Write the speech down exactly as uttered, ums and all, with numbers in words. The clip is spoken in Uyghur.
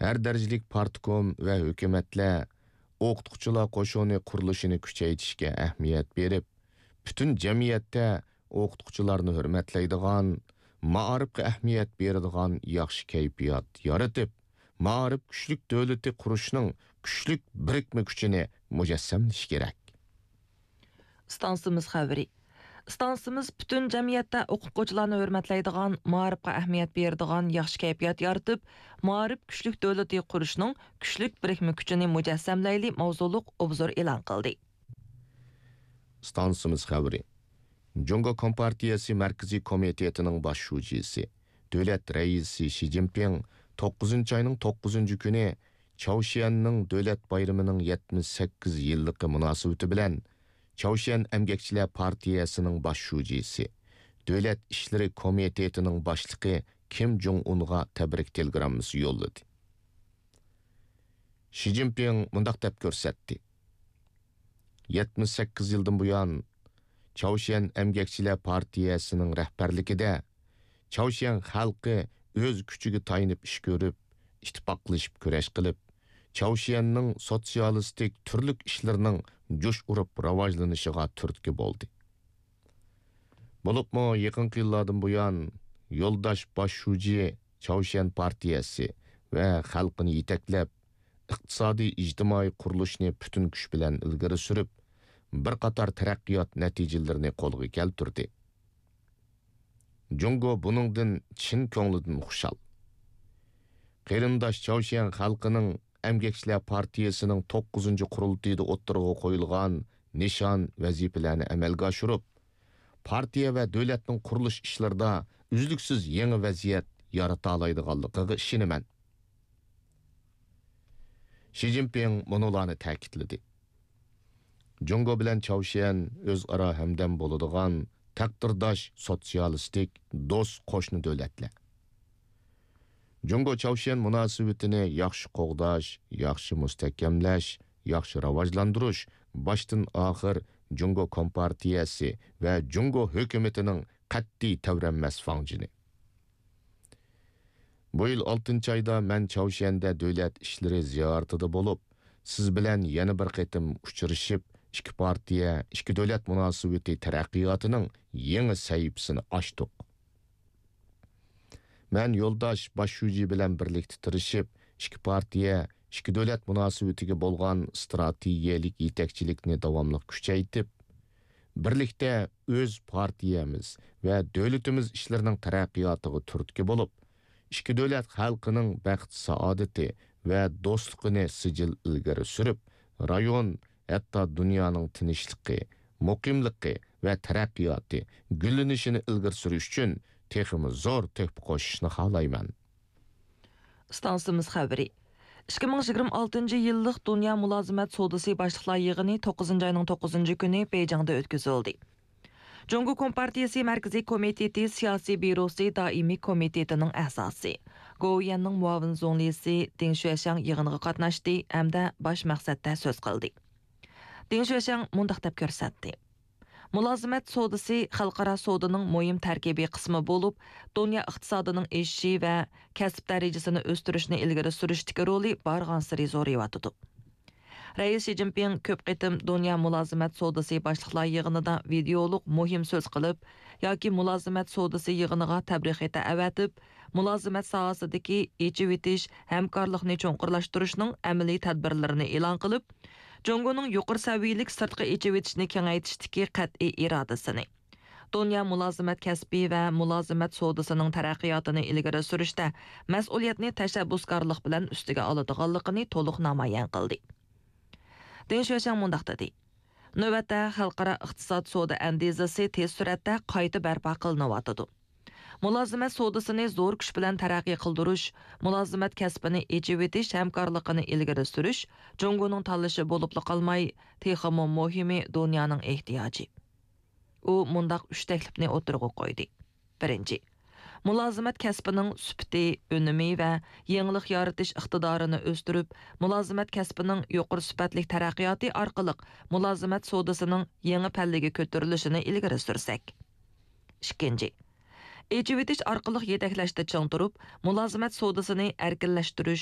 ھەر دەرىجىلىك پارتكوم ۋە ھۆكۈمەتلەر ئوقۇتقۇچىلار قوشۇنى قۇرۇلۇشىنى كۈچەيتىشكە ئەھمىيەت بېرىپ، پۈتۈن جەمئىيەتتە ئوقۇتقۇچىلارنى ھۆرمەتلەيدىغان، مائارىپقا ئەھمىيەت بېرىدىغان ياخشى كەيپىيات يارىتىپ، مائارىپ كۈچلۈك دۆلىتى قۇرۇشنىڭ كۈچلۈك بىرىكمە كۈچىنى مۇجەسسەملىشى كېرەك. ئىستانسىمىز خەۋىرى. ئىستانسىمىز پۈتۈن جەمئىيەتتە ئوقۇتقۇچىلارنى ھۆرمەتلەيدىغان، مائارىپقا ئەھمىيەت بېرىدىغان ياخشى كەيپىيات يارىتىپ، مائارىپ كۈچلۈك دۆلىتى قۇرۇشنىڭ كۈچلۈك بىرىكمە كۈچىنى مۇجەسسەملەيلى ماۋزۇلۇق ئوبزور ئېلان قىلدى. ئىستانسىمىز خەۋىرى. جۇڭگو كومپارتىيەسى مەركىزىي كومىتېتىنىڭ باش شۇجىسى، دۆلەت رەئىسى شى جىنپىڭ توققۇزىنچى ئاينىڭ توققۇزىنچى كۈنى چاۋشيەننىڭ دۆلەت بايرىمىنىڭ يەتمىش سەككىز يىللىقى مۇناسىۋىتى بىلەن چاۋشيەن ئەمگەكچىلەر پارتىيەسىنىڭ باش شۇجىسى، دۆلەت ئىشلىرى كومىتېتىنىڭ باشلىقى كىم جوڭ ئۇنغا تەبرىك تېلېگراممىسى يوللىدى. شى جىنپىڭ مۇنداق دەپ كۆرسەتتى: يەتمىش سەككىز يىلدىن بۇيان، چاۋشيەن ئەمگەكچىلەر پارتىيەسىنىڭ رەھبەرلىكىدە، چاۋشيەن خەلقى ئۆز كۈچىگە تايىنىپ ئىش كۆرۈپ، ئىتتىپاقلىشىپ كۈرەش قىلىپ، چاۋشيەننىڭ سوتسىيالىستىك تۈرلۈك ئىشلىرىنىڭ جۇش ئۇرۇپ راۋاجلىنىشىغا تۈرتكە بولدى. بولۇپمۇ يېقىنقى يىللاردىن بۇيان، يولداش باش شۇجى چاۋشيەن پارتىيەسى ۋە خەلقىنى يېتەكلەپ، ئىقتىسادىي، ئىجتىمائىي قۇرۇلۇشنى پۈتۈن كۈچ بىلەن ئىلگىرى سۈرۈپ، بىر قاتار تەرەققىيات نەتىجىلىرىنى قولغا كەلتۈردى. جۇڭگو بۇنىڭدىن چىن كۆڭلىدىن خۇشال. قېرىنداش چاۋشيەن خەلقىنىڭ ئەمگەكچىلەر پارتىيەسىنىڭ توققۇزىنچى قۇرۇلتىيىدا ئوتتۇرىغا قويۇلغان نىشان، ۋەزىپىلەرنى ئەمەلگە ئاشۇرۇپ، پارتىيە ۋە دۆلەتنىڭ قۇرۇلۇش ئىشلىرىدا ئۈزلۈكسىز يېڭى ۋەزىيەت يارىتالايدىغانلىقىغا ئىشىنىمەن. شى جىنپىڭ مۇنۇلارنى تەكىتلىدى: جۇڭگو بىلەن چاۋشيەن ئۆزئارا ھەمدەم بولىدىغان تەقدىرداش سوتسىيالىستىك دوست قوشنا دۆلەتلەر. جۇڭگو چاۋشيەن مۇناسىۋىتىنى ياخشى قوغداش، ياخشى مۇستەھكەملەش، ياخشى راۋاجلاندۇرۇش باشتىن ئاخىر جۇڭگو كومپارتىيەسى ۋە جۇڭگو ھۆكۈمىتىنىڭ قەتئىي تەۋرەنمەس فاڭجېنى. بۇ يىل ئالتىنچى ئايدا مەن چاۋشيەندە دۆلەت ئىشلىرى زىيارىتىدە بولۇپ، سىز بىلەن يەنە بىر قېتىم ئۇچرىشىپ، ئىككى پارتىيە، ئىككى دۆلەت مۇناسىۋىتى تەرەققىياتىنىڭ يېڭى سەھىپىسىنى ئاچتۇق. مەن يولداش باش شۇجى بىلەن بىرلىكتە تىرىشىپ، ئىككى پارتىيە، ئىككى دۆلەت مۇناسىۋىتىگە بولغان ئىستراتېگىيەلىك يېتەكچىلىكنى داۋاملىق كۈچەيتىپ، بىرلىكتە ئۆز پارتىيەمىز ۋە دۆلىتىمىز ئىشلىرىنىڭ تەرەققىياتىغا تۈرتكە بولۇپ، ئىككى دۆلەت خەلقىنىڭ بەخت-سائادىتى ۋە دوستلۇقىنى سىجىل ئىلگىرى سۈرۈپ، رايون، ھەتتا دۇنيانىڭ تىنچلىقى، مۇقىملىقى ۋە تەرەققىياتى، گۈللىنىشىنى ئىلگىرى سۈرۈش ئۈچۈن تېخىمۇ زور تۆھپە قوشۇشنى خالايمەن. ئىستانسىمىز خەۋىرى. ئىككى مىڭ يىگىرمە ئالتىنچى يىللىق دۇنيا مۇلازىمەت سودىسى باشلىقلار يىغىنى توققۇزىنچى ئاينىڭ توققۇزىنچى كۈنى بېيجىڭدا ئۆتكۈزۈلدى. جۇڭگو كومپارتىيىسى مەركىزىي كومىتېتى سىياسىي بيۇروسى دائىمىي كومىتېتىنىڭ ئەزاسى، گوۋۇيۈەننىڭ مۇئاۋىن زۇڭلىسى دېڭ شۈەشياڭ يىغىنغا قاتناشتى ھەمدە باش مەقسەتتە سۆز قىلدى. دېڭ شۈەشياڭ مۇنداق دەپ كۆرسەتتى: مۇلازىمەت سودىسى خەلقئارا سودىنىڭ مۇھىم تەركىبىي قىسمى بولۇپ، دۇنيا ئىقتىسادىنىڭ ئېشىشى ۋە كەسىپ دەرىجىسىنى ئۆستۈرۈشنى ئىلگىرى سۈرۈشتىكى رولى بارغانسېرى زورىيىۋاتىدۇ. رەئىس شى جىنپىڭ كۆپ قېتىم دۇنيا مۇلازىمەت سودىسى باشلىقلار يىغىنىدا ۋىدېئولۇق مۇھىم سۆز قىلىپ ياكى مۇلازىمەت سودىسى يىغىنىغا تەبرىك خېتى ئەۋەتىپ، مۇلازىمەت ساھەسىدىكى ئېچىۋېتىش، ھەمكارلىقنى چوڭقۇرلاشتۇرۇشنىڭ ئەمەلىي تەدبىرلىرىنى ئېلان قىلىپ، جۇڭگونىڭ يۇقىرى سەۋىيەلىك سىرتقا ئېچىۋېتىشنى كېڭەيتىشتىكى قەتئىي ئىرادىسىنى، دۇنيا مۇلازىمەت كەسپى ۋە مۇلازىمەت سودىسىنىڭ تەرەققىياتىنى ئىلگىرى سۈرۈشتە مەسئۇلىيەتنى تەشەببۇسكارلىق بىلەن ئۈستىگە ئالىدىغانلىقىنى تولۇق نامايان قىلدى. دېڭ شۈەشياڭ مۇنداق دېدى: نۆۋەتتە خەلقئارا ئىقتىساد سودا ئەندىزىسى تېز سۈرئەتتە قايتا بەرپا قىلىنىۋاتىدۇ. مۇلازىمەت سودىسىنى زور كۈچ بىلەن تەرەققىي قىلدۇرۇش، مۇلازىمەت كەسپىنى ئېچىۋېتىش ھەمكارلىقىنى ئىلگىرى سۈرۈش جۇڭگونىڭ تاللىشى بولۇپلا قالماي، تېخىمۇ مۇھىمى دۇنيانىڭ ئېھتىياجى. ئۇ مۇنداق ئۈچ تەكلىپنى ئوتتۇرىغا قويدى. بىرىنچى، مۇلازىمەت كەسپىنىڭ سۈپىتى، ئۈنۈمى ۋە يېڭىلىق يارىتىش ئىقتىدارىنى ئۆستۈرۈپ، مۇلازىمەت كەسپىنىڭ يۇقىرى سۈپەتلىك تەرەققىياتى ئارقىلىق مۇلازىمەت سودىسىنىڭ يېڭى پەللىگە كۆتۈرۈلۈشىنى ئىلگىرى سۈرسەك. ئىككىنچى، ئېچىۋېتىش ئارقىلىق يېتەكلەشتە چىڭ تۇرۇپ، مۇلازىمەت سودىسىنى ئەركىنلەشتۈرۈش،